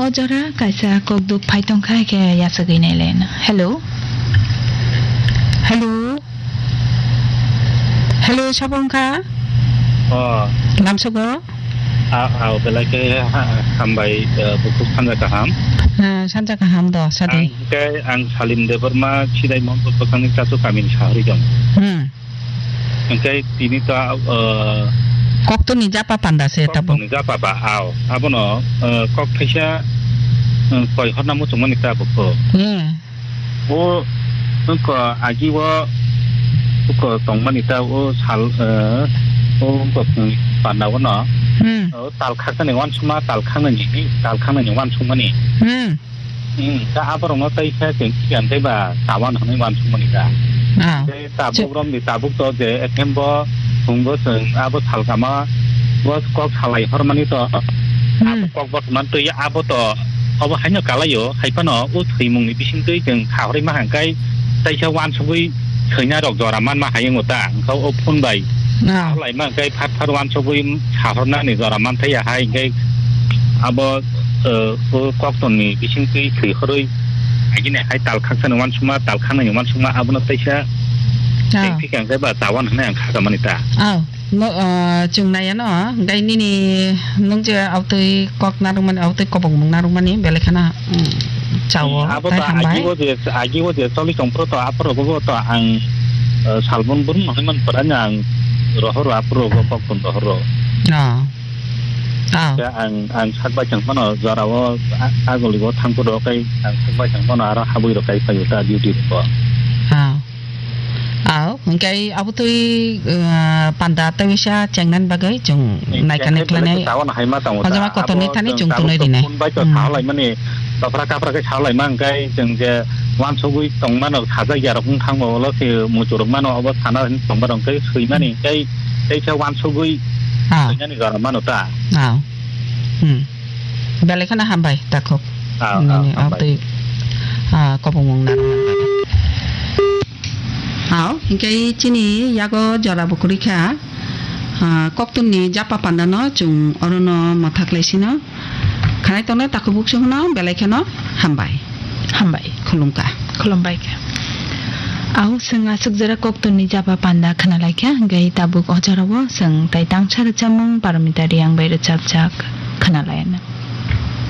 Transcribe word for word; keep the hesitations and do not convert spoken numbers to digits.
O jora kaisa kokduk phai tongkha, khe yachagwi nailai no. Hello? Hello? Hello, sabo wngkha? Oh. Lamsogo? Ah, ah, belai khe ha-, hambai, eh, bukhuk sanja kaham. Ah, sanja kaham do, sadi. Ang khe, ang Salim Debbarma, Chidai Mohammadpur bwkhakni Chachu kamini sahori jong. Hmm. Hingke tini ta, eh, Koktwni japa panda se tabo. Koktwni japa ba, ao. Abono, eh, kok thaisa, eh, koi horna muchungmani ta bukho. Hmm. O, wngkha agi o, wngkha tongmani ta o sal, eh, o wngkha phung panda o no. Hmm. O tal khaknani wansukma, tal khaknani, tal khaknani wansukmani. Hmm. Hmm, ta aborokno tei khe chwng siyan tei ba tawan hwnwi wansukmani ta. Ah. Tei tabuk romni tabuk to je ekhembo thwngbo chwng abo salkama bo kok salai hormani to. Hmm. Abo kok bothoman twi abo to obo haino kalaio, hai phano o thwimungni bisingtwi chwng kha horwi ma hwnkhai teisa wansugwi thwina rok jora manma hai wngo ta, hwnkhe o phone bai. Ah. Salai ma hwnkhai phar phar wansugwi sahornani jora manthai ya hai hwnkhe abo, eh, o koktwmni bisingtwi thwi horwi agini hai tal khaksani wansukma, tal khanani wansukma abono teisa. Ah. Tei thikang khe ba tawan hwnwi ang kha kamani ta. Ah. No, ah, chwng naiya no, hwnkhe nini nwng je abtwi kok narwkmani, abtwi kobokmung narwkmani, belai kheno, mm, chao, hmm, abo tei to hambai. Agi o je, agi o je choli tong phuru to aphuru bo to ang, eh, salbon brum hwnwi man phuru ang rohoro aphuru bo koktwm rohoro. Ah. Ah. Khe ang, ang sak bai thang phano jora o a-, aguli o thang phuru kai ang sak bai thang phano aro habwi rok kai phaio ta duty rok. Ah. Aw, hwnkhe abotwi, uh, panda tei waisa chengnani bagwi chwng naikani khlainai. Tawan hai ma tongo ta. Hojama kotorni thani chwng tunui rinai. Phone bai to, hmm, sahalai mani, dopra kapra khe sahalai ma hwnkhe chwng je wansugwi tongmano, sajak ya rok wng thangma ulo se muchurok mano, obo sana hwnwi tongma rok hwnkhe swimani hwnkhe tei khe wansugwi, ah, swinani jora mano ta. Ah. Hmm. Belai kheno hambai takhuk. Ah, ah, nini hambai. Abotwi, ah, kobongmung narwkna bagwi. Hao, hinkhe chini yago jora bo kwrwi kha, ah, koktwmni japa pandano chwng orono mwthak lai sino. Khanai tongnai takhuk bukchukno belai kheno hambai. Hambai. Khulumkha. Khulumbai kha. Ao, chwng aswk jora koktwmni japa panda khna lai kha, hinkhe tabuk o jorao chwng tai tangsa rwchapmung Parmita Reang bai rwchapjak khna lai anw.